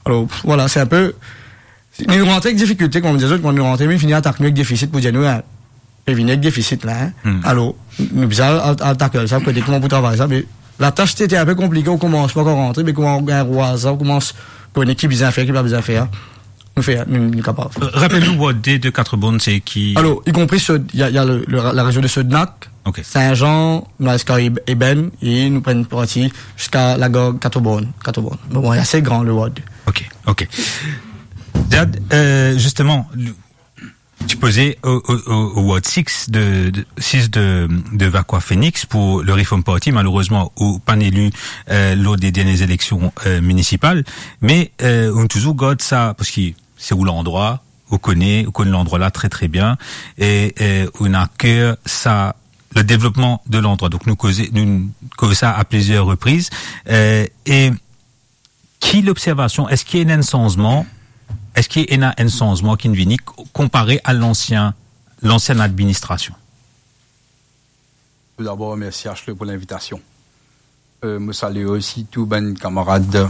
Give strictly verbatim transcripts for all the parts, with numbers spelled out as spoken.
Alor, vwala, se inpe, nou rantre ek difikilte, kouma mo dir zot, kan nou rantre, nou fini atak nou ek defisit pou dir nou, eh, pe vini ek defisit la, hein. Hmm. Alor, nou bizin al, al, al tackle sa, kouma pou travay sa, me latas ti ete inpe konplike o koumansman kan rantre, me kouma ou gagn rwa sa, ou koumans kone ki bizin fer, ki pa bizin fer, nou fer, nou, nou kapav. Euh, rapel nou, Ward de, de Quatre-Bornes, se ki? Alor, i konpri Sod-, il y a, il y a le, le, la rezion de Sodenac, Ok. Saint-Jean, nou al ziska Eb-, Ebène, e nou pran parti ziska Lagar Quatre-Bornes, Quatre-Bornes. Bon, bon, ase gran, le Ward. Ok, ok. Ziad, euh, justement, le, ti poze o, o, o, o Ward six de, de, six de, de Vacoas Phoenix pou le Reform Party. Malerezman, ou pa'nn eli, euh, lor de dernie eleksion, euh, minisipal. Me, euh, ou touzour gard sa, parski se ou landrwa, ou kone, ou kone landrwa la tre, tre bien, e, e ou ena a ker sa, le devlopman de landrwa. Donk nou koze, nou koze sa a plizier repriz. E, e ki lobservasion, eski ena enn sanzman, eski ena enn sanzman ki'nn vini k-, konpare a lansien, lansien administrasion? Tou dabor, mersi Ashley pou linvitasion. Euh, mo salie osi tou bann kamarad,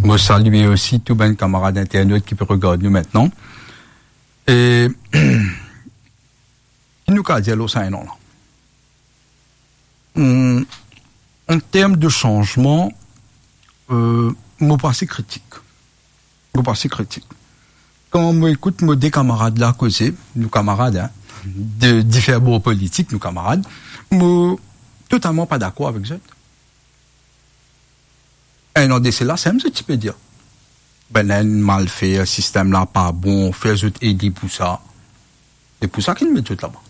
mo salie osi tou bann kamarad internot ki pe regard nou aster. E, ki nou kav dir lor sa enn an la? Hmm, an term de sanzman, euh, mo pa ase kritik. Mo pa ase kritik. Kan mo ekout mo de kamarad la koze, nou kamarad, hein, de difer bor politik, nou kamarad, mo totalman pa dakor avek zot. Enn an de sela, sa mem zot ti pe dir, "Bannla inn mal fer, sistem la pa bon, fer zot eli pou sa." Se pou sa ki nou met zot laba.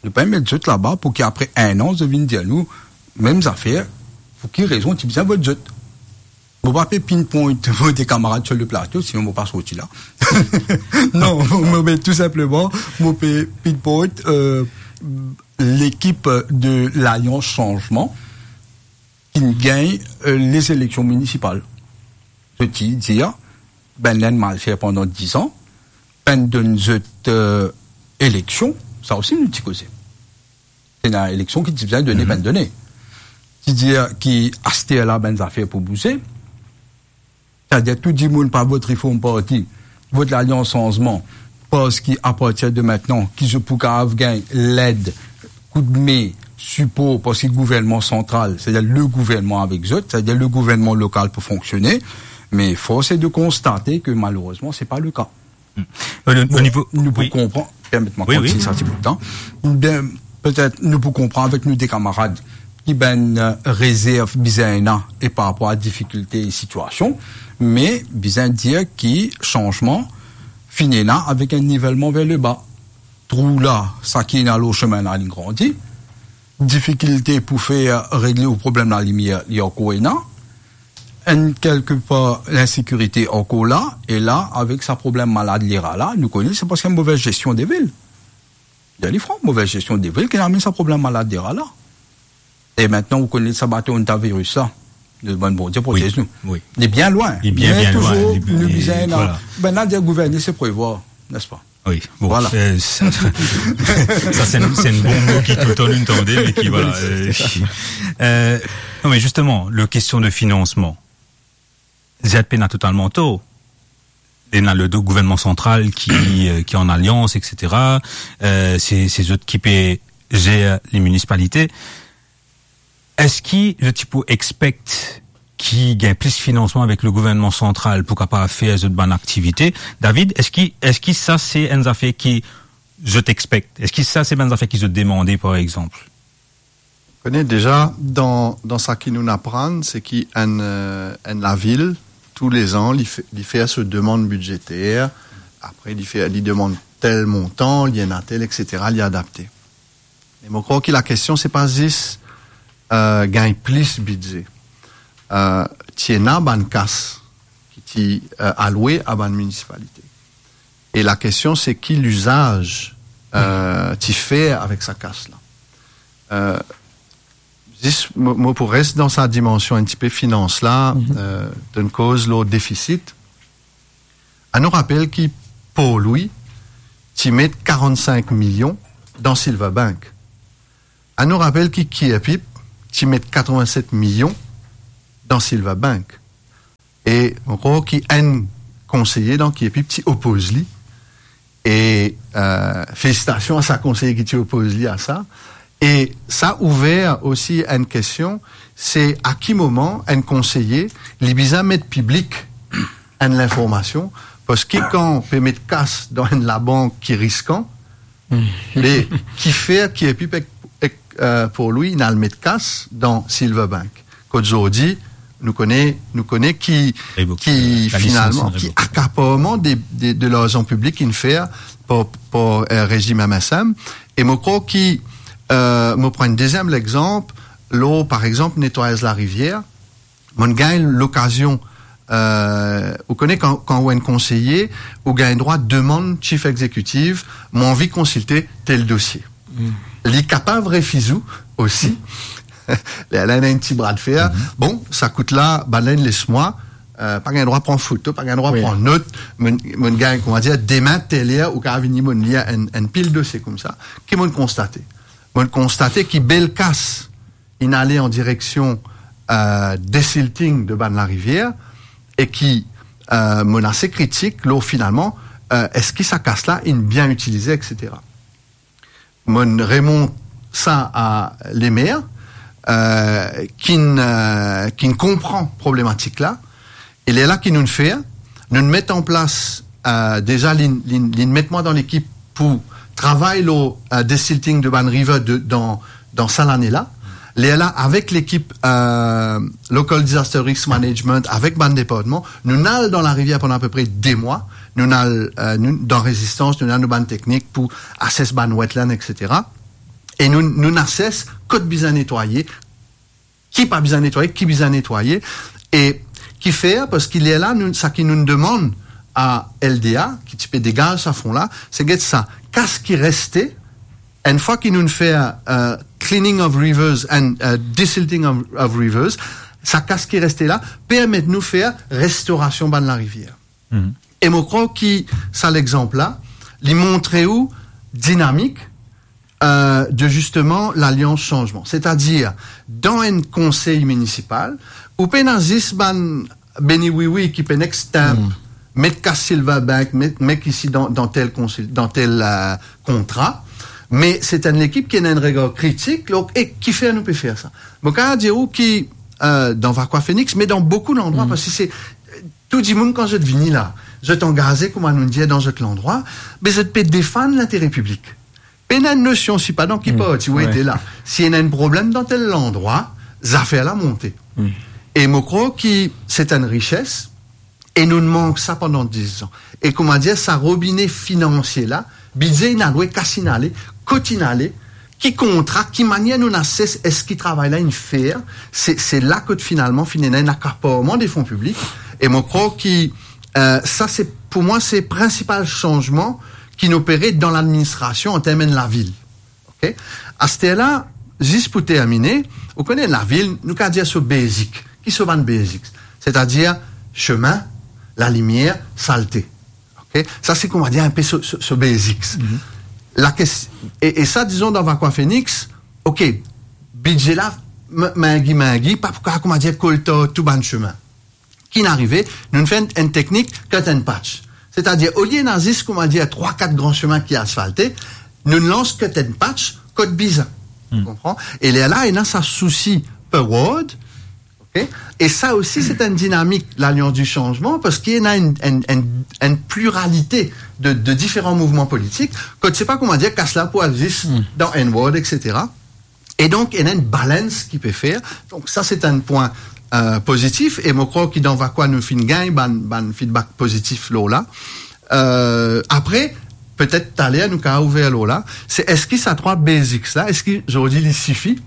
Nou pa met zot laba pou ki apre enn an, zot vinn dir nou mem zafer, pou ki rezon ti bizin vot zot. Mo pa pe pinpoint mo de kamarad sur le plato, sinon mo pa sorti la. Non, mo, mo pe tou sinpleman, mo pe pinpoint, euh, lekip de Lalians Sanzman ki gagn, euh, lez eleksion minisipal. Zot ti dir, "Bannla inn mal fer pandan diz an, pa'nn donn zot, euh, eleksion." Sa osi nou ti koze. Ena eleksion ki ti bizin done, Mhm. pa'nn done. Ti dir ki aster la bann zafer pou bouze. Setadir tou dimoun pa vot Reform Party, vot Lalians Sanzman, parski apartir de aster ki zot pou kapav gagn led, koudme, sipor, parski gouvernman santral, setadir le gouvernman avek zot, setadir le gouvernman lokal pou fonksione. Me fors est de constater que malerezman, se pa le ka. Hmm. O, o, o Bon, nivo, nou pou wi. konpran, permet mwa Wi, wi. kontign sa ti bout letan. Bien, petet nou pou konpran avek nou de kamarad ki bann, euh, rezerv bizin ena e par rapor a difikilte e sitiasion, me bizin dir ki sanzman finn ena avek enn nivelman ver leba. Trou la, sa ki ena lor semin la, li grandi. Difikilte pou fer regle ou problem lalimier, li ankor ena. Enn kelke par, linsekirite ankor la, e la, avek sa problem malad lera la, nou kone, se parski move zestion de vil. Dir li fran, move zestion de vil ki amenn sa problem malad lera la. E aster, ou kone sa baton hantavirus la, nou demann Bondie protez Wi, nou. wi. Li bien lwin. Li bien, Me bien lwin. touzour, Li, nou li, bizin, vwala. Bannla dir gouverner se prevwar, nespa? Wi, bon, Vwala. euh, sa, sa, se enn, se enn bon mo ki toultan nou tande, me ki, vwala, Wi, se euh, sa. euh, non, me zisteman, le kestion de finansman, Ziad pena totalman tor. Ena le do-, gouvernman santral ki, euh, ki an alians, et cetera. Euh, se, se zot ki pe zer le minisipalite. Eski zot ti pou expect ki gagn plis finansman avek le gouvernman santral pou kapav fer zot bann aktivite? David, eski, eski sa se enn zafer ki zot expect? Eski sa se bann zafer ki zot demande, par exanp? Kone deza, dan, dan sa ki nou aprann, se ki enn, euh, enn lavil, toulezan, li fe-, li fer so demann bidzeter, apre li fer, li demann tel montan, li ena tel, et cetera, li adapte. Me mo krwar ki lakestion, se pa zis, euh, gagn plis bidze. Euh, ti ena bann kas ki ti, euh, alwe a bann minisipalite. E lakestion, se ki lizaz, euh, ti fer avek sa kas la. Euh, zis, mo, mo pou res dan sa dimansion enn tipe finans la, Mhm. euh, donn koz lor defisit. Anou rapel ki Port-Louis ti met karant-sink milion dan Silver Bank. Anou rapel ki Kiepipe ti met katreven-set milion dan Silver Bank. E mo krwar ki enn konseye, donk, ki epi ti opoz li, e, euh, felisitasion a sa konseye ki ti opoz li a sa. E sa ouver osi enn kestion, se a ki moman enn konseye, li bizin met piblik enn linformasion, parski kan pe met kas dan enn labank ki riskan, me kifer ki epi pe, ek, euh, pou li, inn al met kas dan Silverbank. Kot zordi, nou kone, nou kone ki, Revoke, ki euh, la licence finalman, inn ki revoke. Akaparman de, de, de larzan piblik inn fer par, par, euh, rezim M S M. E mo krwar ki, euh, mo pran enn deziem lexanp, lor, par exanp, netwayaz larivier. Mo'nn gagn lokazion, euh, ou kone kan, kan ou enn konseye, ou gagn drwa demann chief executive, mo anvi konsilte tel dosie. Li kapav refiz ou osi. Lerla ena enn ti bra de fer. Bon, sa kout la, bann la inn les mwa, euh, pa gagn drwa pran foto, pa gagn drwa pran not. Mo'nn, mo'nn gagn, kouma dir, demin, tel ler, ou kapav vini, mo'nn lir enn, enn pil dosie koumsa. Ki mo'nn konstate? Mo'nn konstate ki bel kas inn ale an direksion, euh, desilting de bann larivier, e ki, euh, mo'nn ase kritik lor finalman, euh, eski sa kas la inn bien itilize, et cetera. Mo'nn remont sa a lemer, euh, ki'nn, euh, ki'nn konpran problematik la, e lerla ki nou'nn fer, nou'nn met an plas, euh, deza li'nn, li'nn, li'nn met mwa dan lekip pou travay lor, euh, desilting de bann river de, dan, dan sa lane la. Lerla, avek lekip, euh, Local Disaster Risk Management, avek bann departman, nou'nn al dan larivier pandan apepre de mwa, nou'nn al, euh, nou, dan Rezistans, nou'nn al nou bann teknik pou ases bann wetland, et cetera. E nou, nou'nn ases kot bizin netwaye, ki pa bizin netwaye, ki bizin netwaye, e kifer, parski lerla, nou, sa ki nou'nn demann a L D A, ki ti pe degaz sa fon la, se get sa kas ki reste, enn fwa ki nou'nn fer, euh, cleaning of rivers and, euh, desilting of, of rivers, sa kas ki reste la, permet nou fer restorasion bann larivier. E mo krwar ki sa lexanp la, li montre ou dinamik, euh, de zisteman Lalians Sanzman. Setadir, dan enn konsey minisipal, ou pena zis bann beni wiwi ki pe nek stamp, met kas Silverbank, met, met isi dan, dan tel konsil, dan tel, euh, kontra, me se enn lekip ki ena enn regar kritik, donk, e kifer nou pe fer sa? Mo kapav dir ou ki, euh, dan Vacoas Phoenix, me dan boukou landrwa, parski se, euh, tou dimoun kan zot vini la, zot angaze, kouma nou dir, dan zot landrwa, me zot pe defann lintere piblik. Pena enn nosion, si pa dan ki parti ou ete la. Si ena enn problem dan tel landrwa, zafer la monte. E mo krwar ki se enn rises, e nou'nn mank sa pandan diz an. E kouma dir, sa robine finansie la, bidze inn ale, kas inn ale, kot inn ale, ki kontra, ki manier nou'nn ases, eski travay la inn fer, se, se la kot finalman finn ena enn akaparman de fon piblik. E mo krwar ki, euh, sa se, pou mwa, se prinsipal sanzman ki'nn opere dan ladministrasion an term enn lavil. Ok? Aster la, zis pou termine, ou kone lavil, nou kapav dir so basic. Ki so bann basics? Setadir semin, lalimier, salte. Ok? Sa se, kouma dir, enn pe so, so, so basics. La kes-, e, e sa, dizon, dan Vacoas Phoenix, ok, bidze la, m-, mingi, mingi, pa pou kapav, kouma dir, kolta tou bann semin. Ki'nn arive, nou'nn fer enn, enn teknik cut and patch. Setadir, olie ena zis, kouma dir, trwa, kat gran semin ki asfalte, nou'nn lans cut and patch kot bizin. Ou konpran? E lerla, ena sa sousi per ward, ok? E sa osi, se enn dinamik Lalians di Sanzman, parski ena enn, enn, enn, enn pliralite de, de diferan mouvman politik, kot se pa, kouma dir, kas la pou al zis dan enn ward, et cetera. E donk, ena enn balance ki pe fer. Donk, sa, se enn pwin, euh, pozitif. E mo krwar ki dan Vacoas, nou finn gagn bann, bann feedback pozitif lor la. Euh, apre, petet taler, nou kapav ouver lor la. Se eski sa trwa basics la, eski zordi li sifi?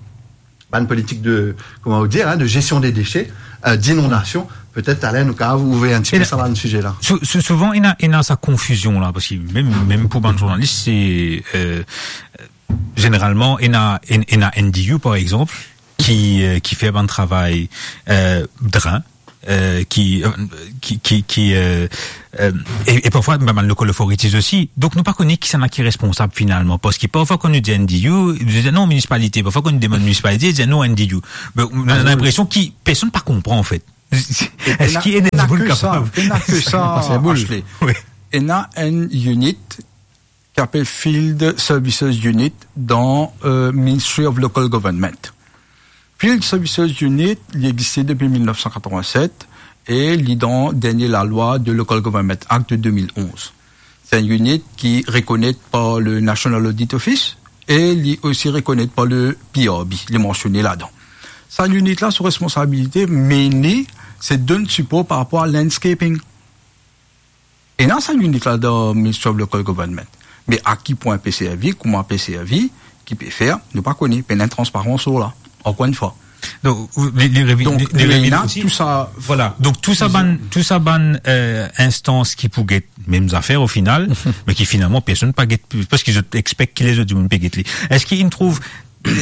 Bann politik de, kouma ou dir, hein, de gestion des déchets, euh, d'inondation, petet taler, nou kapav ouver enn tipe sa bann size la. Sou-, sou-, souvan, ena, ena sa konfizion la, parski mem, mem pou bann zournalis, se, euh, zeneralman, ena, en-, ena N D U, par exanp, ki, euh, ki fer bann travay, euh, dren, euh, ki, euh, ki, ki, ki, euh, euh, e, e parfwa, bann local authorities osi. Donk, nou pa kone kisannla ki responsab finalman. Parski parfwa, kan nou dir N D U, nou dir non, minisipalite. Parfwa, kan nou demann minisipalite, nou dir non, N D U. Bon, nou ena linpresion ki personn pa konpran, anfet. Eski ena dimoun kapav? Ena ke sa, ena ke sa, Ashley. Wi. Ena enn unit ki apel Field Services Unit dan, euh, Ministry of Local Government. Field Services Unit, li existe depi mil nef san katrovin-set e li dan dernie lalwa de Local Government Act de de mil onz. Se enn unit ki rekonet par le National Audit Office e li osi rekonet par le P R B, li mansione ladan. Sa unit la, so responsabilite, mainly, se donn sipor par rapor a landscaping. Ena sa unit la dan Ministry of Local Government. Me a ki pwin pe servi, kouma pe servi, ki pe fer, nou pa kone, pena transparans lor la. Ankor enn fwa. Donk, ou, li, li revi-, donk, li, li revi ena osi, tou sa, vwala. Donk, tou sa bann, tou sa bann, euh, instans ki pou get mem zafer o final, me ki finalman personn pa get, paski zot expek ki lezot dimoun pe get li. Eski inn trouv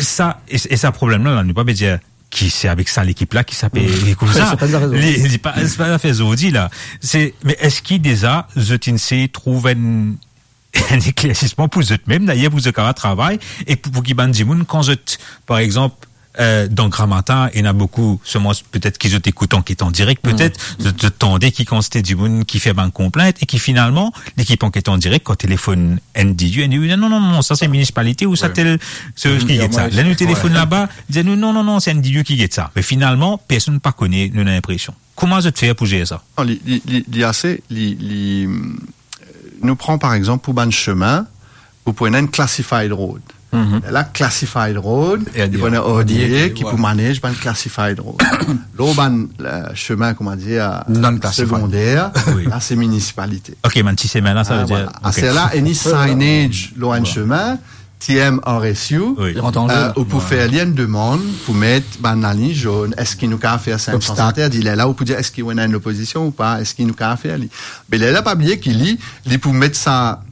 sa, e, e sa problem la, la, nou pa pe dir ki se avek sa lekip la ki sa pe koumsa. Li, li pa, se pa zafer zordi la. Se, me eski deza zot inn sey trouv enn, enn eklersisman pou zot mem, dayer pou zot kapav travay, e pou, pou ki bann dimoun, kan zot, par exanp, euh, dan Gramatin, ena boukou, selman petet ki zot ekout Anket an Direk, petet, zot, zot tande ki kantite dimoun ki fer bann konplint, e ki finalman, lekip Anket an Direk, kan telefonn N D U, N D U, non, non, non, sa se minisipalite ou sa tel, se ki get sa. Ler nou telefonn laba, dir nou, non, non, non, se N D U ki get sa. Me finalman, personn pa kone, nou ena linpresion. Kouma zot fer pou zer sa? Non, li, li, li, li ase, li, li, mm, nou pran par exanp pou bann semin, ou pou ena enn classified road. La, classified road, li pou ena R D A ki pou manage bann classified road. Lor bann, euh, semin, kouma dir, segonder, la, se minisipalite. Ok, bann ti semin la, sa ve dir, vwala. Aster la, any signage lor enn semin, T M R S U, euh, ou pou fer li enn demann pou met bann laliny zonn, eski nou kapav fer sa, sans interdit. Lerla ou pou dir, eski ou ena enn lopozision ou pa, eski nou kapav fer li. Me lerla pa bliye ki li, li pou met sa,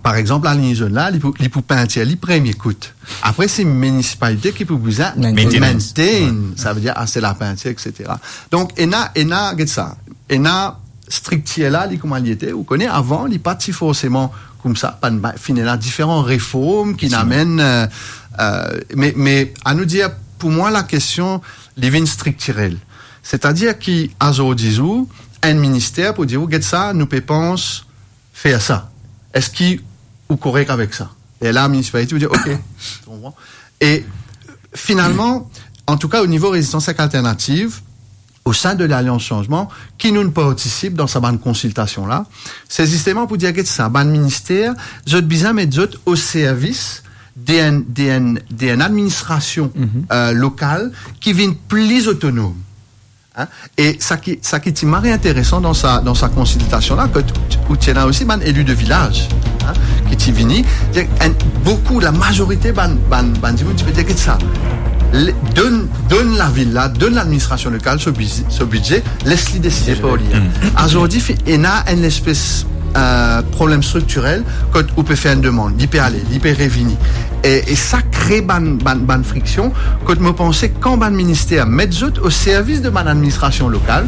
par exanp, laliny zonn la, li pou, li pou pintir li premie kout. Apre, se minisipalite ki pou bizin maintain, sa ve dir aste lapintir, et cetera. Donk, ena, ena, get sa, ena striktir la, li kouma li ete, ou kone, avan, li pa ti forseman koumsa, pa, pa, finn ena diferan reform ki amenn, euh, euh, me, me, anou dir, pou mwa, lakestion, li vinn striktirel. Setadir ki, azordi zour, enn minister pou dir ou, get sa, nou pe pans fer sa. Eski ou korek avek sa? E la, minisipalite pou dir, ok, ou konpran? E finalman, antouka, o nivo Rezistans ek Alternativ, o sein de Lalians Sanzman, ki nou partisip dan sa bann konsiltasion la, se zisteman pou dir, get sa, bann minister, zot bizin met zot o servis de enn, de enn, de enn administrasion, euh, lokal ki vinn pli otonom. Hein? E sa ki, sa ki ti mari interesan dan sa, dan sa konsiltasion la, kot ou ti ena osi bann eli de vilaz, hein, ki ti vini, dir enn, boukou, lamazorite bann, bann, bann dimoun ti pe dir, get sa, le, donn, donn lavil la, donn ladministrasion lokal so bizi-, so bidze, les li deside par li. Azordi, fi-, ena enn lespes, euh, problem striktirel, kot ou pe fer enn demann, li pe ale, li pe revini. E, e sa kre bann, bann, bann friksion, kot mo panse kan bann minister met zot o servis de bann administrasion lokal,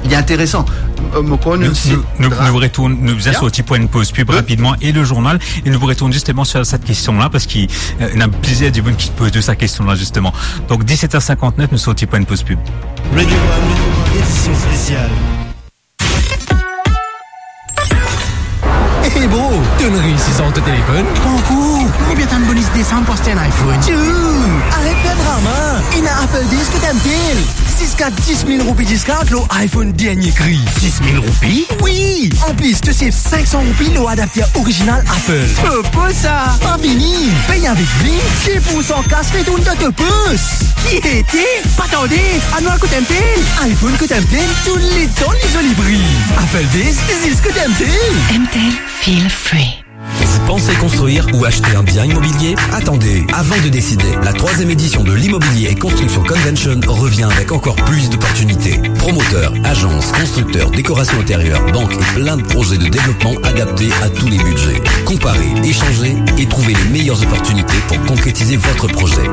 li interesan. Euh, mo krwar nou, nou, nou, nou retourn, nou bizin sorti pou enn poz pib rapidman e le journal, e nou pou retourn zisteman sir sa kestion la, paski, euh, ena plizier dimoun ki poz sa kestion la zisteman. Donk, diset er sinkant-nef, nou sorti pou enn poz pib. Radio One, édition spéciale. Hey bro, to'nn reysi sorti telefonn? Pankor. Oubien tann bonis Desanm pou aste enn iPhone? Tchou! Aret fer drama. Ena Apple Days kot M T L. Ziska dis mil roupi discount lor iPhone dernie kri. Dis mil roupi? Wi! Anplis, to save sink san roupi lor adapter orizinal Apple. Popo sa! Pa fini! Pey avek Blink, dis pour san kas retourn dan to pos. Ki ete? Pa tarde, anou al kot M T L. iPhone kot M T L, touletan li zoli pri. Apple Days, zis kot M T L. M T L, feel free. Vous pensez construire ou acheter un bien immobilier ? Attendez, avant de décider, la troisième édition de l'Immobilier et Construction Convention revient avec encore plus d'opportunités. Promoteurs, agences, constructeurs, décoration intérieure, banques et plein de projets de développement adaptés à tous les budgets. Comparez, échangez et trouvez les meilleures opportunités pour concrétiser votre projet.